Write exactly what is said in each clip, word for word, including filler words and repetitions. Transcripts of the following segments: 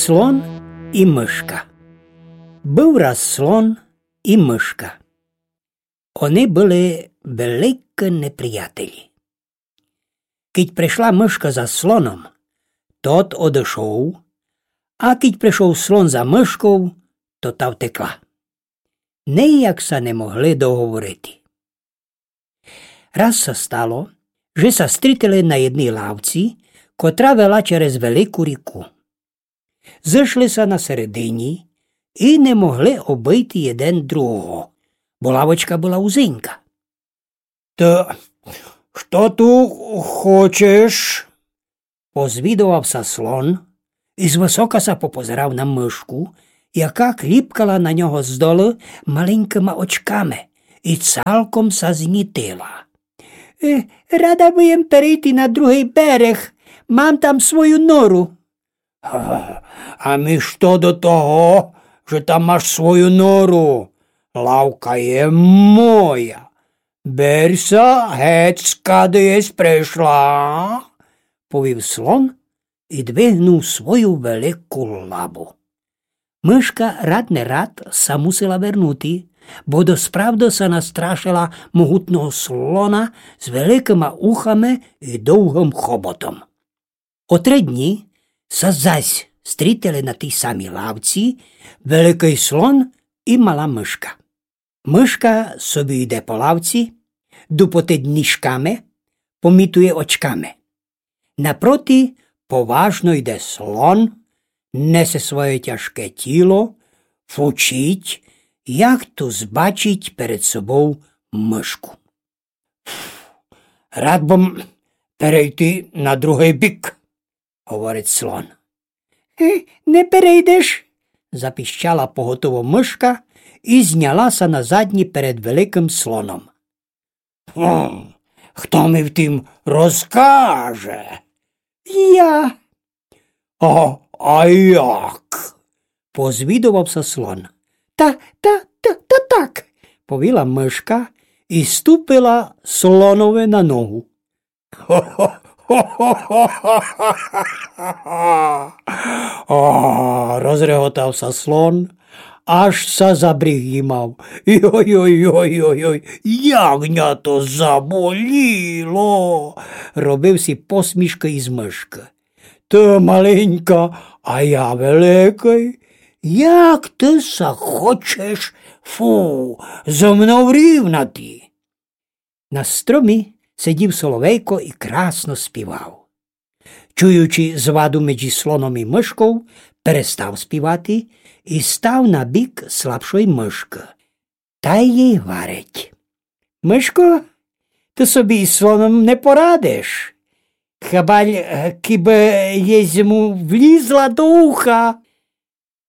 Слон і мышка. Быв раз слон і мышка. Они были великі неприятелі. Кідь пришла мышка за слоном, тот одышов, а кідь пришов слон за мышков, то та втекла. Ніяк ся не могли договорити. Раз ся стало, же ся стрітили на єдній лавці, котра вела через велику ріку. Зышли ся на середині і не могли обыйти єден другого, бо лавочка была узенька. Та што ту хочеш? Позвідовав ся слон і звысока ся попозирав на мышку, яка кліпкала на нього здолу маленькыма очками і цалком ся знітила. Е, рада бы єм перейти на другый берег, мам там свою нору. А, а мі што до того, же там маш свою нору? Лавка є моя. Бер ся геть, скады єсь пришла, повів слон і двигнув свою велику лабу. Мышка рад не рад ся мусила вернути, бо досправды ся настрашила могутного слона з великыма ухами і довгым хоботом. О три дні ся зась стрітили на тій самій лавці великый слон і мала мышка. Мышка собі йде по лавці, дупотить ніжками, помітує очками. Напроти поважно йде слон, несе своє тяжке тіло, фучить, як то збачить перед собов мышку. Рад бым перейти на другый бік, говорить слон. Е, не перейдеш, запіщала поготово мышка і зняла ся на задні перед великым слоном. Хто мі в тім розкаже? Я. А, а як? Позвідовав ся слон. Та, та, та, та так, повіла мышка і ступила слонові на ногу. А, розреготав ся слон, аж ся за бріг їмав. Йой-йой-йой-йой, як ня то заболіло! Робив сі посмішкы із мышкы. Ты маленька, а я великый. Як ты ся хочеш, фу, зо мнов рівнати? На стромі сидів соловейко і красно співав. Чуючи зваду меджі слоном і мышков, перестав співати і став на бік слабшой мышкы. Тай їй гварить: Мышко, ты собі із слоном не порадиш. Хабаль, е, кібы єсь му влізла до уха.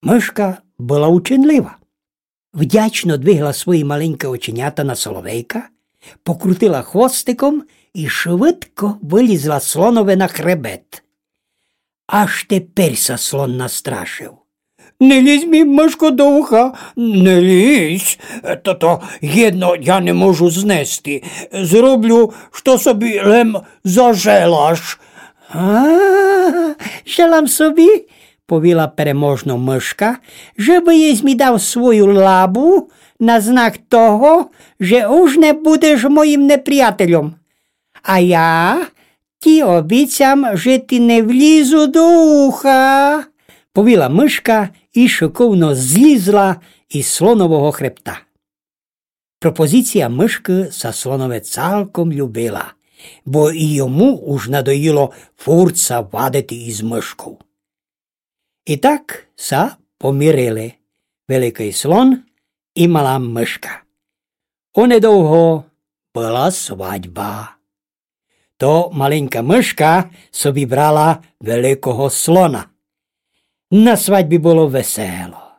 Мышка была ученлива. Вдячно двигла свої маленькі оченята на соловейка, покрутила хвостиком і швидко вылізла слонові на хребет. Аж теперь ся слон настрашив. Не лізь мі, мышко, до уха, не лізь. То, то єдно я не можу знести. Зроблю, што собі лем зажелаш. А, желам собі, повіла переможно мышка, же бы єсь мі дав свою лабу на знак того, же уж не будеш моїм неприятельом. А я ті обіцям, же ті не влізу до уха, повіла мышка і шыковно злізла із слонового хребта. Пропозіція мышкы ся слонові цалком любила, бо і йому уж надоїло фурт ся вадити із мышков. І так ся помирили великый слон і мала мышка. Онедовго была свадьба. То маленька мышка собі брала великого слона. На свадьбі было весело.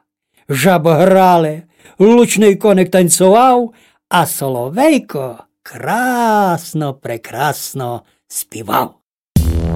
Жабы грали, лучный коник танцовав, а соловейко красно, прекрасно співав.